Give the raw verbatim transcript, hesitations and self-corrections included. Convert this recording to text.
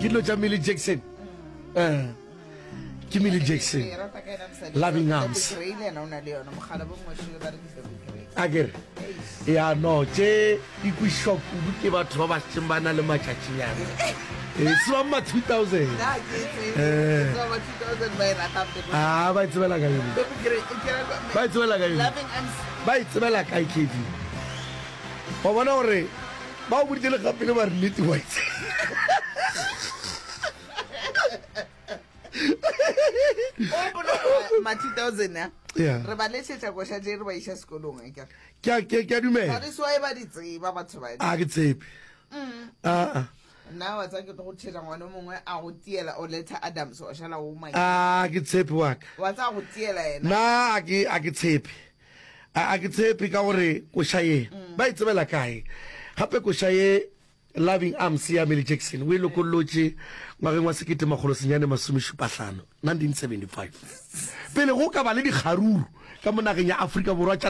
Ke dilo tša Millie Jackson. Eh, ke Millie Jackson. Ke rata ka yena mosadi. Loving Debbie Arms. Gray le yena o na le yona mogala bo mošele ba re ke Debbie Gray. A ke re Eish. ya no tše di kwešišwa kudu ke batho ba ba šetšeng ba na le matšatšinyana e tsebang ma two thousand Nna ke e tsebe. Eh. Ke tseba ba two thousand ba e ratang Debbie a ba e tsebela kae mo? Debbie Gray, e ke ra- Ba e tsebela kae mo? Loving Arms. Ba e tsebela kae K V wa bona gore ba o boditše le gapele ba re nnete wa itse O gopola gore ma two thousand a Yeah. re ba lešetša koša tše re ba iša sekolong akere. Ke a- ke ke a dumela That is why ba di tseba batho ba. a ke tshepe aa Nna wa tseba ke tlo go tšhetša ngwana o mongwe a go tiela Oleta Adams wa šala o maki. a ke tshepe wa ka Wa tseba go tiela yena. nna a ke a ke tshepe a a ke tshepe ka gore koša ye ba e tsebela kae gape koša ye Loving Arms ya Millie Jackson o e lokollotše ngwageng wa sekete makgolo senyane masomešupahlano, nineteen seventy five, pele go ka ba le dikgaruru ka mo nageng ya Afrika Borwa tša